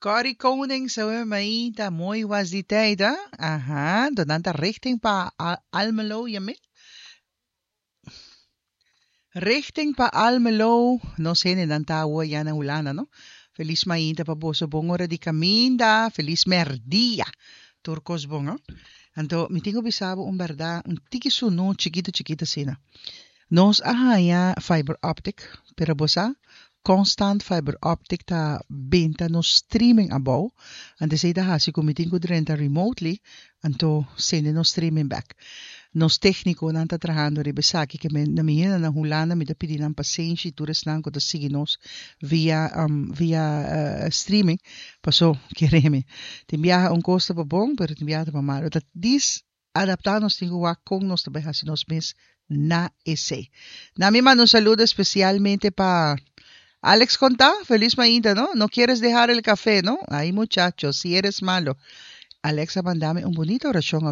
Corrie Koning, awe mainta, mooi was die tijd, hè? Aha, dan ta richting pa Almelo, je Richting pa Almelo, no sé, nan ta awa ya na Hulanda, no? Felis mainta pa boso, bon ora di kaminda, felis merdia. Tur kos bon, no? Anto, mi tin ku bisa bo un bèrdat, un tiki sunu chikitu chikitu asina. Nos a haña fiber optic, pero bo sa, constant fiber optic ta benta nos streaming abou. Anto esei ta hasi ku mi tin ku drenta remotely, anto sende nos streaming back. Nos téknikonan ta trahando riba esaki, ke men na mi hende na Hulanda mi ta pidi nan pasenshi tur esnan ku ta sigui nos via via streaming, paso kere mi tin biaha un kos ta pa bon, pero tin biaha ta pa malu. Ta dis adaptá nos tin ku wak kon nos ta bai hasi nos mes na esei. Na mi manda un saludo espesialmente pa Alex Contá, felis mainta, no? No quieres dejar el café, no? Ay, muchacho, si eres malo. Alex a manda mi un bunita orashon.